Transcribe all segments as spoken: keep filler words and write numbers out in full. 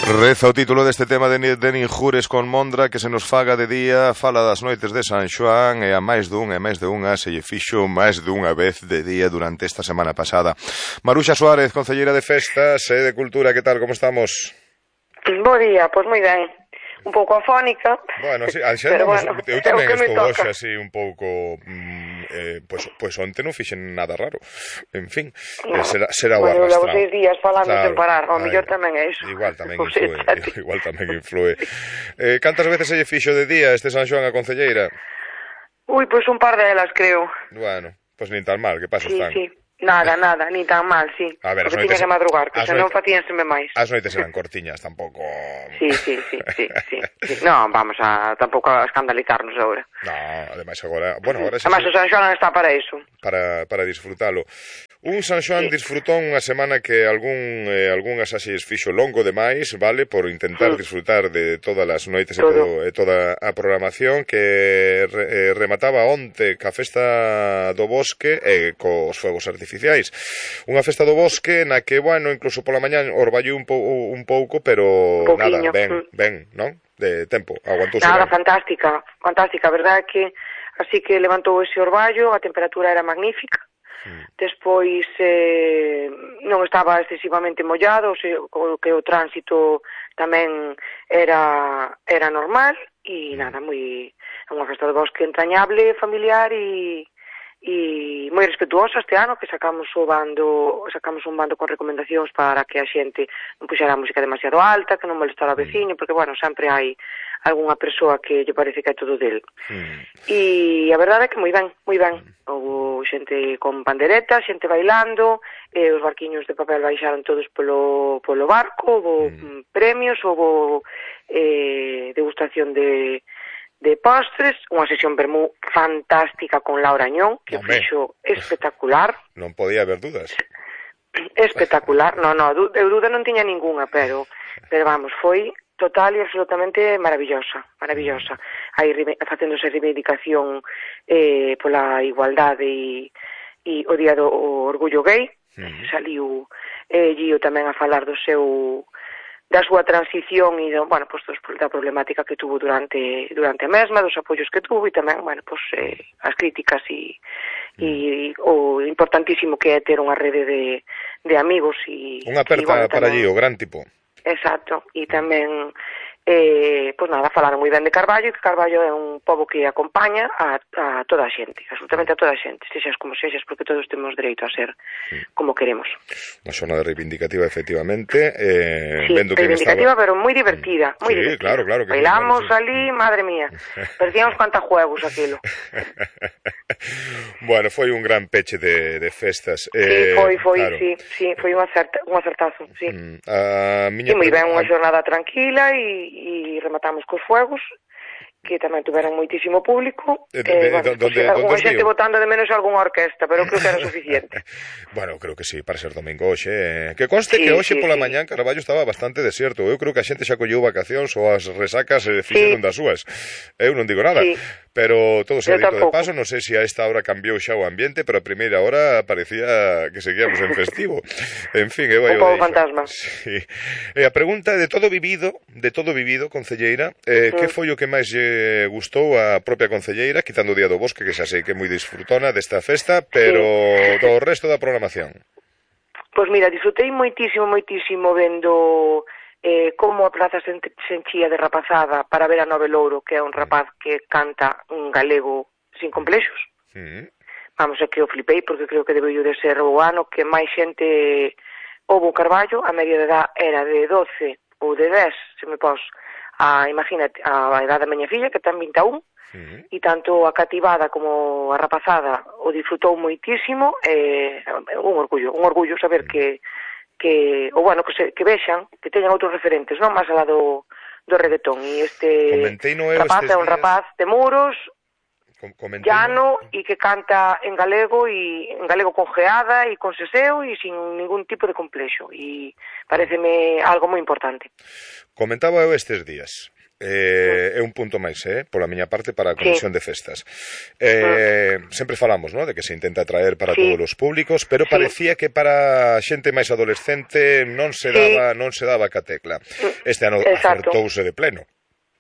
Reza o título deste tema de, de Ninjures con Mondra, que se nos faga de día, fala das noites de San Xoán, e a máis dun e máis de unha se lle fixo máis dunha vez de día durante esta semana pasada. Maruxa Suárez, concelleira de Festas e de Cultura, que tal, como estamos? Bo día, pois moi ben. Un pouco afónica. Bueno, sí, xa pero andamos, bueno, eu tamén estou hoxe toca. así un pouco mm, eh, pois, pois onte non fixen nada raro. En fin, no. eh, será, será o bueno, arrastrado. Levo seis días falando claro. sen parar, ao Ai, mellor tamén é iso. Igual tamén O influe, sea, igual tamén influe. Eh, cantas veces se lle fixo de día este San Xoán a concelleira? Ui, pois un par delas, creo. Bueno, pois nin tan mal, que pasos sí, tan. Sí, sí. Nada, nada, ni tan mal, sí. A ver, porque tiña que madrugar, que senón facíanseme máis. As noites eran cortiñas, tampouco... Sí, sí, sí, sí, sí, sí. No, vamos a tampouco a escandalizarnos agora. No, ademais agora... Bueno, agora sí, ademais, sí. O San Xoán está para iso. Para, para disfrutalo. Un San Xoán sí. disfrutón unha semana que algún eh, algunhas así fixo longo demais, vale, por intentar sí. disfrutar de todas as noites todo. e, todo, e toda a programación que re, eh, remataba onte ca festa do bosque e cos fuegos artificiais. Unha festa do bosque na que, bueno, incluso pola mañá orballou un, pou, un pouco, pero un nada, ben, ben, non? De tempo, aguantouse. Nada, ben. fantástica, fantástica, a verdade é que así que levantou ese orballo, a temperatura era magnífica. Despois eh, non estaba excesivamente mollado, o, sea, o que o tránsito tamén era era normal e nada, moi unha festa de bosque entrañable, familiar e e moi respetuosa este ano, que sacamos o bando, sacamos un bando con recomendacións para que a xente non puxera a música demasiado alta, que non molestara ao veciño, porque bueno, sempre hai algunha persoa que lle parece que é todo del. Mm. E a verdade é que moi ben, moi ben. Houve xente con pandereta, xente bailando, e os barquiños de papel baixaron todos polo, polo barco, houve mm. premios, houve eh, degustación de de postres, unha sesión vermú fantástica con Laura Añón, que Hombre. fixo espectacular. Non podía haber dudas. Espectacular, no, no, eu duda non tiña ninguna, pero, pero vamos, foi total e absolutamente maravillosa, maravillosa. Aí facéndose reivindicación eh, pola igualdade e, e o día do orgullo gay, mm. saliu eh, Gio tamén a falar do seu da súa transición e, do, bueno, pues, da problemática que tuvo durante durante a mesma, dos apoios que tuvo e tamén, bueno, pues, eh, as críticas e, e o importantísimo que é ter unha rede de, de amigos e... Unha aperta e, bueno, para tamén, allí, o gran tipo. Exacto, e tamén eh, pois nada, falaron moi ben de Carballo, e que Carballo é un pobo que acompaña a, a toda a xente, absolutamente a toda a xente, sexas como sexas, porque todos temos dereito a ser como queremos. Unha xornada reivindicativa, efectivamente. Eh, sí, vendo reivindicativa, estaba... pero moi divertida, moi sí, divertida. claro, claro. Que bailamos claro, sí. ali, madre mía, parecíamos cantajuegos aquilo. Bueno, foi un gran peche de, de festas. Eh, sí, foi, foi, claro. sí, sí, foi un, acerta, un acertazo, sí. Mm, a miña e moi ben, unha xornada tranquila e e rematamos cos fuegos, que tamén tuveron moitísimo público. De, de, eh, bueno, donde, pues, algunha xente dio? botando de menos algunha orquesta, pero creo que era suficiente. Bueno, creo que sí, para ser domingo hoxe. Eh. Que conste sí, que hoxe sí, pola sí. mañán Carballo estaba bastante desierto. Eu creo que a xente xa colleu vacacións ou as resacas eh, fixeron sí. das súas. Eu non digo nada. Sí. Pero todo se dito de paso, non sei se a esta hora cambiou xa o ambiente, pero a primeira hora parecía que seguíamos en festivo. En fin, eu aí o fantasma. Sí. E a pregunta de todo vivido, de todo vivido, concelleira, eh, mm. que foi o que máis lle gustou a propia concelleira, quitando o Día do Bosque, que xa sei que é moi disfrutona desta festa, pero sí. do resto da programación? Pois mira, disfrutei moitísimo, moitísimo vendo... Eh, como a praza se, se enchía de rapazada para ver a Nove Louro, que é un rapaz que canta un galego sin complexos. Mm. Vamos, é que o flipei, porque creo que debeu de ser o ano que máis xente houve o Carballo, a media de edad era de doce ou de dez, se me pos, a, imagínate, a edad da miña filla, que ten vinte e un, mm. e tanto a cativada como a rapazada o disfrutou moitísimo, eh, un orgullo, un orgullo saber mm. que que, ou bueno, que, se, que vexan, que teñan outros referentes, non? Máis alá do, do reggaetón. E este rapaz é un rapaz de Muros, Comentei llano, e que canta en galego, e en galego con geada e con seseo, e sin ningún tipo de complexo. E pareceme algo moi importante. Comentaba eu estes días. eh, é un punto máis, eh, pola miña parte, para a Comisión sí. de Festas. Eh, mm. Sempre falamos, ¿no?, de que se intenta traer para sí. todos os públicos, pero sí. parecía que para xente máis adolescente non se daba, sí. non se daba ca tecla. Este ano Exacto. acertouse de pleno.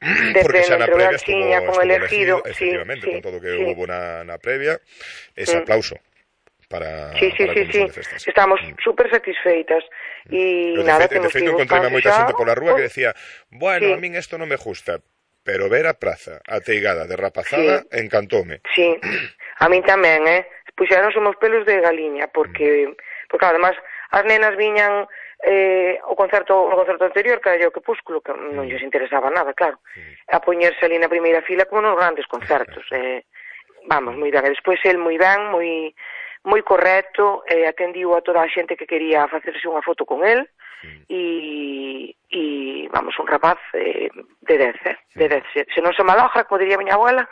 De porque pleno, xa na previa estuvo, con estuvo elegido, elegido, efectivamente, sí, sí, con todo o que sí. hubo na, na previa, ese mm. aplauso. Para, sí, sí, para sí, sí. Estamos mm. súper satisfeitas e pero nada, de feito, temos de feito encontrei a moita xente pola rúa que decía, bueno, sí. a min isto non me gusta, pero ver a praza ateigada de rapazada sí. encantoume. Sí, a min tamén, eh? Puxeron os pelos de galiña, porque, mm. porque además as nenas viñan eh, o concerto o concerto anterior, que era o Crepúsculo, que mm. non lles interesaba nada, claro, mm. a poñerse ali na primeira fila como nos grandes concertos. eh, vamos, moi ben. E despois el moi ben, moi... moi correcto, eh, atendiu a toda a xente que quería facerse unha foto con el e, e vamos, un rapaz eh, de dez, eh, de dez. Se, se non se maloja, como diría a miña abuela.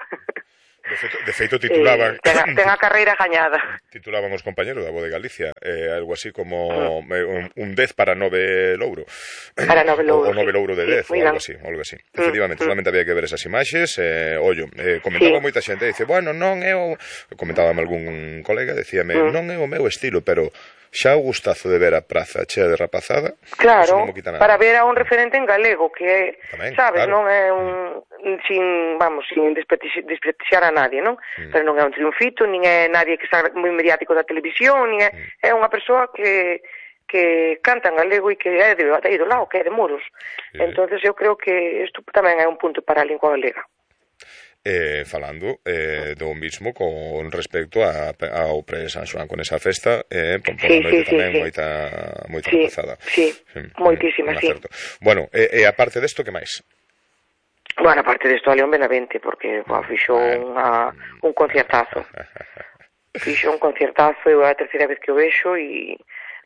De feito, de feito titulaban... Eh, ten, a, ten a carreira gañada. Titulaban os compañeros da Voz de Galicia, eh, algo así como mm. un, un dez para nove louro. Para nove louro, o, o nove louro de dez, sí, ou algo así, algo así. Mm. Efectivamente, mm. solamente había que ver esas imaxes. Eh, ollo, eh, comentaba sí. moita xente, dice, bueno, non é o... Comentábame algún colega, decíame, mm. non é o meu estilo, pero... xa o gustazo de ver a praza chea de rapazada. Claro, para ver a un referente en galego que, tamén, sabes, claro. non é un mm. sin, vamos, sin desprestixiar a nadie, non? Mm. Pero non é un triunfito, nin é nadie que está moi mediático da televisión, nin é, mm. é unha persoa que que canta en galego e que é de, de do lado, que é de Muros. Sí. Entonces eu creo que isto tamén é un punto para a lingua galega. Eh, falando eh, do mismo con respecto a, ao pre-San Xoán, con esa festa eh, por sí, noite sí, tamén sí, moita, moita sí, rapazada sí, sí, moitísima, sí. Bueno, e, e aparte desto, que máis? Bueno, aparte desto, a León Benavente, porque mm, fixo bueno. unha, un concertazo fixo un concertazo, é a terceira vez que o vexo e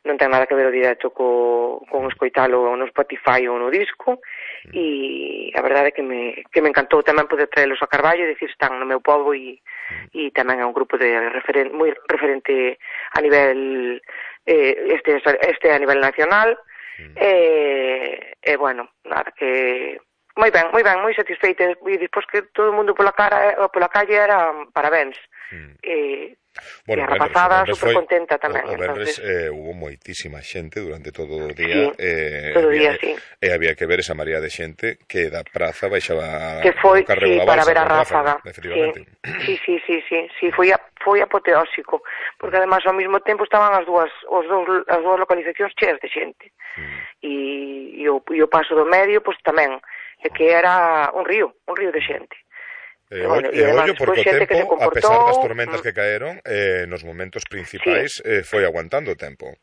non ten nada que ver o directo co, con escoitalo no Spotify ou no disco, e a verdade é que me, que me encantou tamén poder traelos a Carballo e dicir están no meu pobo e, e tamén é un grupo de referen, moi referente a nivel eh, este, este a nivel nacional e, e bueno, nada, que moi ben, moi ben, moi satisfeita e despois que todo o mundo pola cara pola calle era parabéns mm. e bueno, e a rapazada super contenta tamén. O, o Benres eh, hubo moitísima xente durante todo o día, sí, eh, todo o día, día, sí. E había que ver esa maría de xente que da praza baixaba que foi, o carrego sí, da balsa, para ver a ráfaga. Efectivamente. Sí, sí, sí, sí, sí, foi a, foi apoteósico, porque además ao mesmo tempo estaban as dúas os dous as dúas localizacións cheas de xente. Mm. E, e, o, e o paso do medio, pois tamén, é que era un río, un río de xente. E bueno, ollo porque o tempo, a pesar das tormentas que caeron, eh, nos momentos principais sí. eh, foi aguantando o tempo.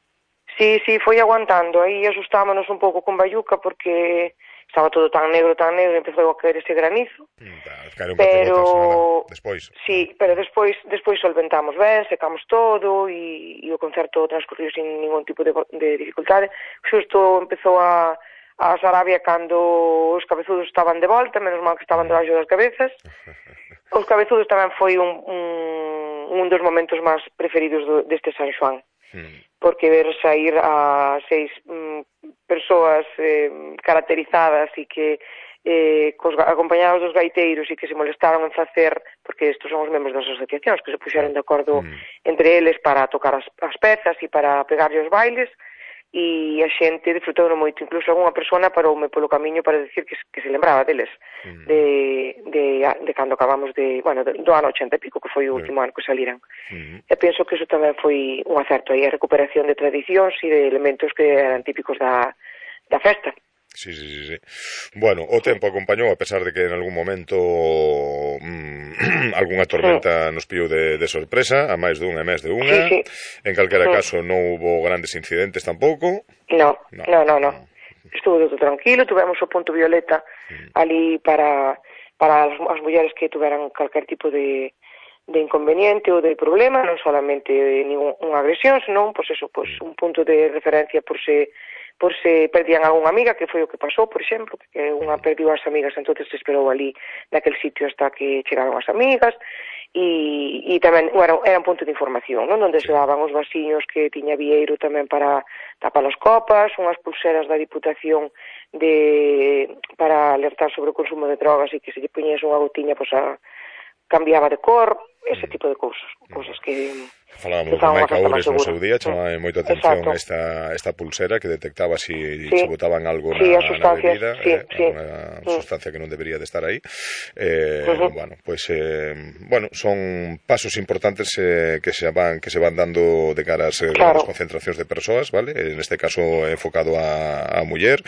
Sí, sí, foi aguantando. Aí asustámonos un pouco con Bayuca porque estaba todo tan negro, tan negro, empezou a caer ese granizo. Claro, pero despois. Sí, pero despois despois solventamos ben, secamos todo e, e o concerto transcurriu sin ningún tipo de, de dificultade. Xusto empezou a a Sarabia cando os cabezudos estaban de volta, menos mal que estaban debaixo das cabezas. Os cabezudos tamén foi un, un, un dos momentos máis preferidos do, deste San Xoán. Mm. Porque ver sair a seis mm, persoas eh, caracterizadas e que eh, cos, acompañados dos gaiteiros e que se molestaron en facer, porque estos son os membros das asociacións que se puxeron de acordo mm. entre eles para tocar as, as pezas e para pegarlle os bailes, e a xente disfrutou moito, incluso algunha persona paroume polo camiño para decir que, que se lembraba deles mm. de, de, de cando acabamos de, bueno, do ano ochenta e pico, que foi o último mm. ano que saliran. Mm. E penso que iso tamén foi un acerto aí, a recuperación de tradicións e de elementos que eran típicos da, da festa. Sí, sí, sí, sí. Bueno, o tempo acompañou, a pesar de que en algún momento mmm, algunha tormenta sí. nos pillou de, de sorpresa, a máis dunha e máis de unha. Sí, sí. En calquera sí. caso non hubo grandes incidentes tampouco. No, no, no, no. no. Estuvo todo tranquilo, tuvemos o punto violeta mm. ali para, para as, as mulleres que tuveran calquer tipo de, de inconveniente ou de problema, non solamente ninguna agresión, senón, pois eso, pois un punto de referencia por se por se perdían algunha amiga, que foi o que pasou, por exemplo, que unha perdiu as amigas, entonces se esperou ali naquele sitio hasta que chegaron as amigas, e, e tamén, bueno, era un punto de información, non? Onde se daban os vasiños que tiña Vieiro tamén para tapar as copas, unhas pulseras da Diputación de para alertar sobre o consumo de drogas e que se lle poñese unha gotiña, pois a cambiaba de cor, ese tipo de cousas, cousas que falábamos de Maica Oures no seu día, chamaba moito atención esta, esta pulsera que detectaba si sí. se botaban algo sí, na, na bebida, sí, eh, sí. unha mm. sustancia que non debería de estar aí. Eh, uh -huh. Bueno, pues, eh, bueno, son pasos importantes eh, que se van que se van dando de cara a eh, claro. concentracións de persoas, vale? En este caso enfocado a, a muller.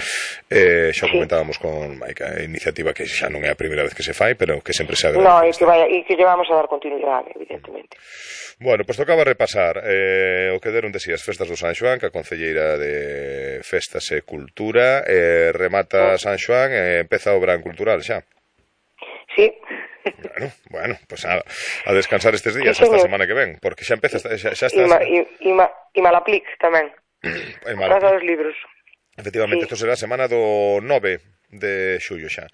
Eh, xa sí. comentábamos con Maica, iniciativa que xa non é a primeira vez que se fai, pero que sempre se agradece. No, e que vaya, e que llevamos a dar continuidade, evidentemente. Bueno, pois pues tocaba repasar eh, o que deron de si as festas do San Xoán, que a Concelleira de Festas e Cultura eh, remata San Xoán e empeza o verán cultural xa. Sí. Bueno, bueno, pues a, a descansar estes días sí, esta semana que ven, porque xa empeza, xa, xa estás... E, ma, e, e, ma, e Malaplic tamén, a Casa dos Libros. Efectivamente, isto sí. será a semana do nove de xullo xa.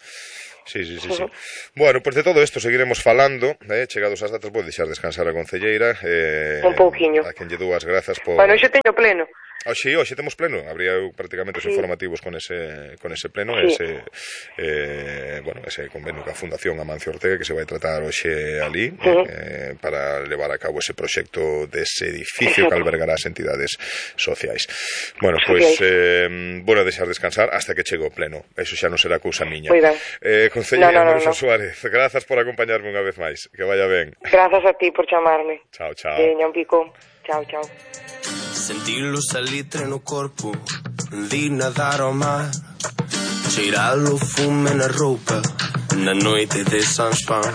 Sí, sí, sí, sí. Uh -huh. Bueno, pois pues de todo isto seguiremos falando, eh, chegados as datas, vou deixar descansar a Concelleira. Eh, un pouquiño. A quen lle dúas grazas por... Bueno, xe teño pleno. Oxe, oxe temos pleno, habría prácticamente os sí. informativos con ese con ese pleno, sí. ese eh, bueno, ese convenio ca Fundación Amancio Ortega que se vai tratar hoxe ali, uh -huh. eh, para levar a cabo ese proxecto dese edificio que albergará as entidades sociais. Bueno, pois pues, eh, bueno, deixar descansar hasta que chegue o pleno. Eso xa non será cousa miña. Eh, Concelleira no, no, no, no. Suárez, grazas por acompañarme unha vez máis. Que vaya ben. Grazas a ti por chamarme. Chao, chao. Veña, un pico. Chao, chao. Sentilo salitre no corpo, vi nadar ao mar, cheirar o fume na roupa, na noite de San Xoán.